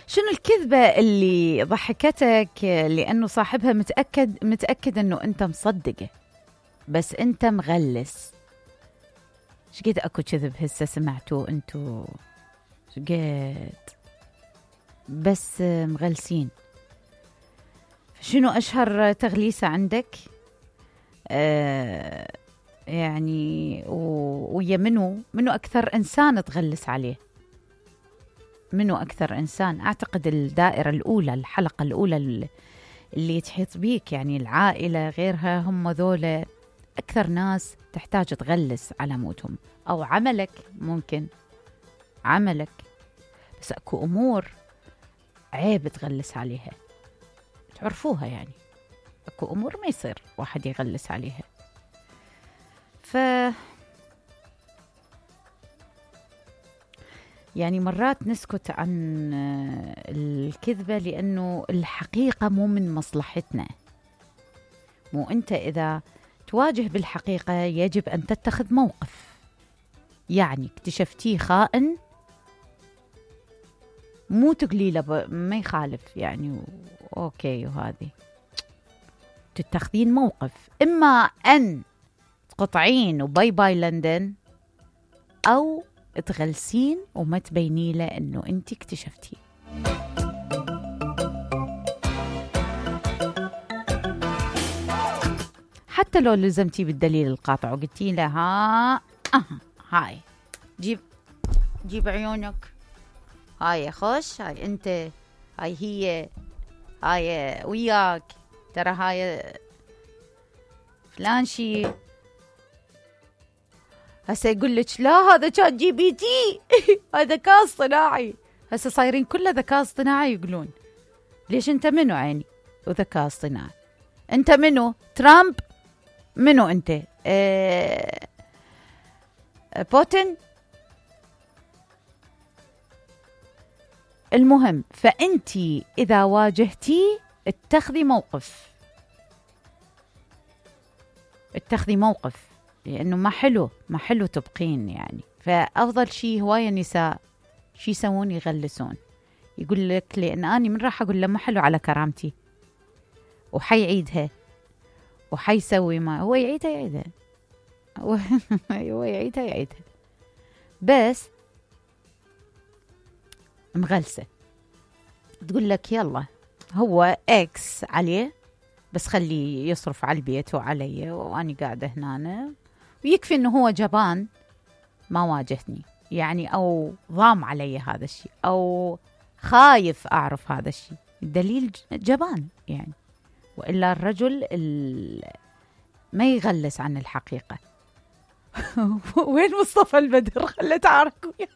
شنو الكذبة اللي ضحكتك لأنه صاحبها متأكد أنه أنت مصدقه بس أنت مغلس؟ شقد أكو كذب هسه سمعتوه أنتو؟ شقد بس مغلسين. شنو أشهر تغليسة عندك؟ يعني ويا منو أكثر إنسان تغلس عليه؟ منو أكثر إنسان؟ أعتقد الدائرة الأولى، الحلقة الأولى اللي تحيط بيك، يعني العائلة غيرها، هم ذولا أكثر ناس تحتاج تغلس على موتهم. أو عملك، ممكن عملك، بس أكو أمور عيب تغلس عليها، تعرفوها يعني. أكو أمور ما يصير واحد يغلس عليها. يعني مرات نسكت عن الكذبة لأنه الحقيقة مو من مصلحتنا. مو أنت إذا تواجه بالحقيقة يجب أن تتخذ موقف. يعني اكتشفتيه خائن، مو تقليله ما يخالف يعني أوكي، وهذه تتخذين موقف. إما أن تقطعين وباي باي لندن، أو تغلسين وما تبيني له أنه أنت اكتشفتيه. حتى لو لزمتي بالدليل القاطع وقلتي له هاي جيب عيونك، هاي خش، هاي أنت، هاي هي، هاي وياك، ترى هاي فلان شي. هسه يقول لك لا هذا كان جي بي تي هذا ذكاء اصطناعي. هسه صايرين كله ذكاء اصطناعي يقولون. ليش انت منو عيني وذكاء اصطناعي؟ انت منو؟ ترامب؟ منو انت؟ بوتين؟ المهم، فأنتي إذا واجهتي اتخذي موقف، لأنه ما حلو تبقين يعني. فأفضل شيء هواية نساء شي يسوون؟ يغلسون. يقول لك لأن أنا من راح أقول له ما حلو على كرامتي، وحيعيدها وحيسوي ما هو يعيدها هو يعيدها بس مغلسة. تقول لك يلا هو اكس عليه، بس خليه يصرف على البيت وعلي وأنا قاعدة هنا، ويكفي إنه هو جبان ما واجهني يعني، أو ضام علي هذا الشيء، أو خايف أعرف هذا الشيء، الدليل جبان يعني. وإلا الرجل ما يغلس عن الحقيقة. وين مصطفى البدر؟ خلت عارك